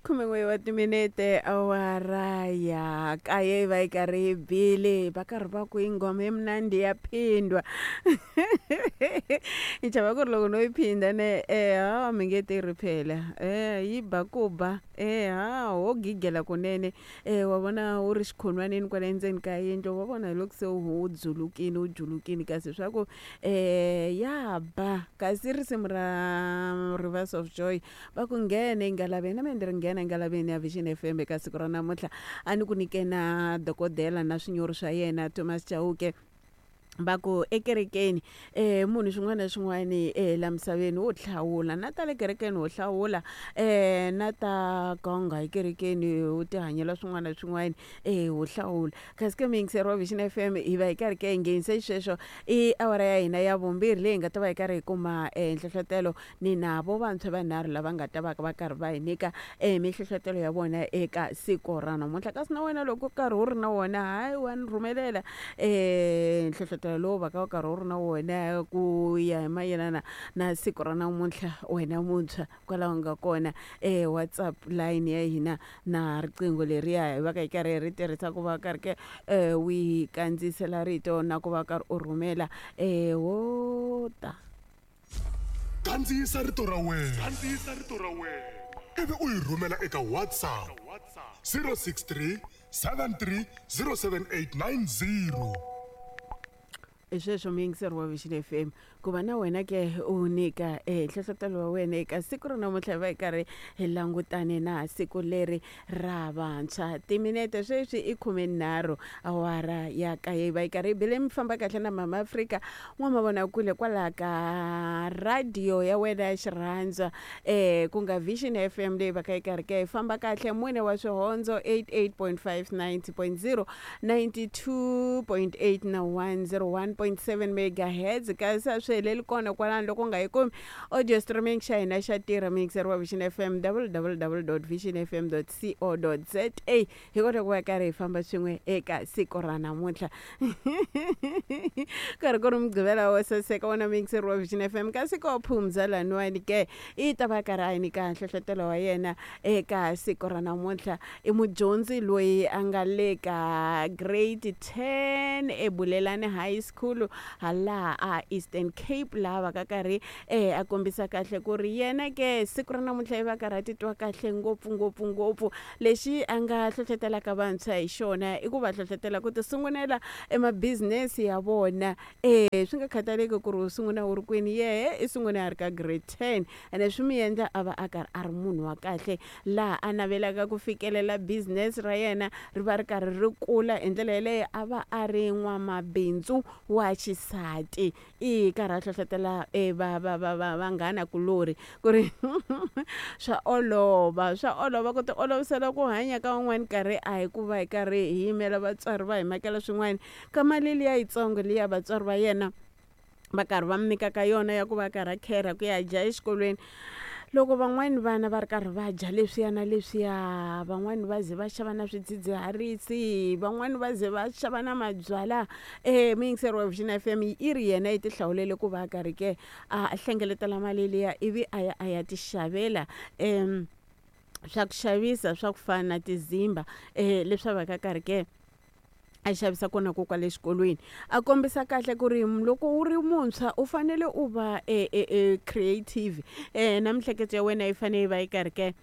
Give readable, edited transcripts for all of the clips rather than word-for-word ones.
Khumen'we wa timinete awara ya kaye yi va yi karhi yi bile, va karhi va ku ingoma yi mnandi ya phindwa. Ni chava ku ri loko no yi phindha ne ha mi nge tirhi phela, yi ba ku ba, ha ho gigela kunene. Wa vona wu ri xikhonwanini kwale ndzeni ka yindlu, wa vona hi loko se wu dzulukile wu julukile, kasi swa ku ya ba. Kasi risimu ra Rivers of Joy va ku nghena engalaveni, na mina ndzi ri nghena engalaveni ya Vision FM eka siku ra namuntlha. A ni ku nyike na dokodela na swinyori swa yena Thomas Chauke, va ku ekerekeni munhu xin'wana na xin'wana la misaveni wo hlawula, na ta le kerekeni wo hlawula, na ta ganga ekerekeni u ti hanyela swin'wana na swin'wana wo hlawula. Kasi ke muyingiseri wa Vision FM hi va hi karhi ke hi nghenise xisweswo i awara ya hina ya vumbirhi leyi hi nga ta va hi karhi hi kuma nhlohlotelo ni na vo vantshwa vanharhu lava nga ta va va karhi va hi nyika mihlohletelo ya vona eka siku ra namuntlha. Kasi na wena loko karhi u ri na wona, hayi wa ni rhumelela nhlohletelo lowu va ka u karhi u ri na wona ku ya hi mayelana na siku ra namuntlha, wena muntshwa kwalaho nga kona. WhatsApp line ya hina na riqingho leriya hi va ka hi karhi hi ri tirhisa ku va karhi ke wi kandziyisela rito na ku va karhi u rhumela wo ta. Kandziyisa rito ra wena. Kandziyisa rito ra wena. Ivi u yi rhumela eka WhatsApp 063 73 07890. Hi sweswo muyingiseri wa Vision FM, ku va na wena ke u nyika nhlohlotelo wa wena eka siku ra namuntlha, hi va hi karhi hi langutane na siku leri ra vantshwa. Timinete sweswi i 13 awara ya kaye yi va yi karhi yi bile. Mi famba kahle na Mama Afrika n'wamavonakule kwalaha ka radio ya wena ya xirhandzwa, ku nga Vision FM leyi va ka yi karhi ka yi famba kahle, mune wa swihondzo 88.5, 90.0, 92.8 na 101.7 megahertz. Kasi a swi heleli kona kwalano, loko u nga yi kumi audio streaming xa hina xa tirha, muyingiseri wa Vision FM, www.visionfm.co.za, hi kota ku va karhi hi famba swin'we eka siku ra namuntlha, karhi ku ri Mugqivela wo saseka. Wona muyingiseri wa Vision FM, kasi ko phumza laniwani ke i ta va karhi a yi nyika nhlohlotelo wa yena eka siku ra namuntlha. I mudyondzi loyi a nga le ka grade 10 eBulelani High School halaha a Eastern Cape, laha va ka karhi a kombisa kahle ku ri yena ke siku ra namuntlha i va karhi a titwa kahle ngopfu ngopfu ngopfu. Lexi a nga hlohlotelaka vantshwa hi xona i ku va hlohletela ku ti sungulela emabizinesi ya vona, swi nga khataleki ku ri u sungula u ri kwini, yehe i sungule a ri ka grade 10, ene swi mi endla a va a karhi a ri munhu wa kahle laha a navelaka ku fikelela business ra yena ri va ri karhi ri kula hi ndlela yeleyo, a va a ri n'wamabindzu wa xisati. I karhi a hlohletela va va va va vanghana kulorhi ku ri swa olova, swa olova ku ti olovisela ku hanya ka un'wana karhi, a hi ku va hi karhi hi yimela vatswari va hi makela swin'wana ka mali liya yitsongo liya vatswari va yena va karhi va mi nyikaka yona ya ku va karhi a kherha ku ya dya exikolweni. Loko van'wani vana va ri karhi va dya leswiya na leswiya, van'wani va ze va xava na swidzidziharisi, van'wani va ze va xava na mabyalwa, muyingiseri wa Vision FM i ri yena i ti hlawulele ku va a karhi ke a hlengeletela mali liya ivi a ya a ya ti xavela swa ku xavisa swa ku fana na tizimba, leswi a va ka karhi ke a xavisa kona ko kwale xikolweni. A kombisa kahle ku ri loko u ri muntshwa u fanele u va creative, na miehleketo ya wena yi fanele yi va yi karhi ke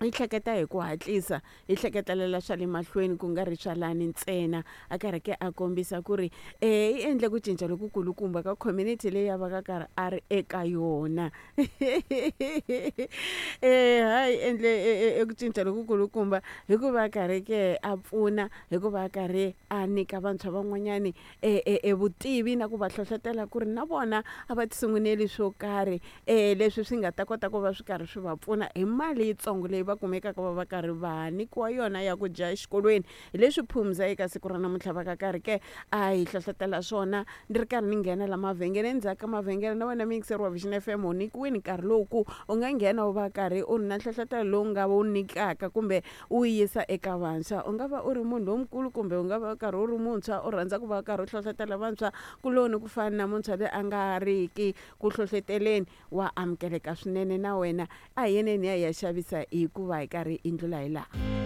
yi hleketa hi ku hatlisa, yi hleketelela swa le mahlweni ku nga ri swa lani ntsena. A karhi ke a kombisa ku ri i endle ku cinca lokukulukumba ka community leyi a va ka karhi a ri eka yona. Hayi endle ku cinca lokukulukumba hikuva a karhi ke a pfuna, hikuva a karhi a nyika vantshwa van'wanyani vutivi na ku va hlohlotela ku ri na vona a va ti sunguneli swo karhi, leswi swi nga ta kota ku va swi karhi swi va pfuna hi mali yitsongo leyi va kumekaka va va karhi va nyikiwa yona ya ku dya exikolweni. Hi leswi Phumza eka siku ra namuntlha va ka karhi ke a hi hlohlotela swona. Ni ri karhi ni nghena la mavhengele, endzhaku ka mavhengele na wena muyingiseri wa Vision FM u nyikiwile nkarhi lowu ku u nga nghena u va karhi u ri na nhlohlotelo lowu nga wu nyikaka kumbe U yi yisa eka vantshwa. U nga va u ri munhu lonkulu kumbe u nga va u karhi u ri muntshwa, u rhandza ku va u karhi u hlohlotela vantshwa kuloni ku fana na muntshwa loyi a nga ri ki ku hlohloteleni, wa amukeleka swinene na wena. A hi yeneni hi ya hi ya xavisa hikuva hi karhi hi ndlula hi laha.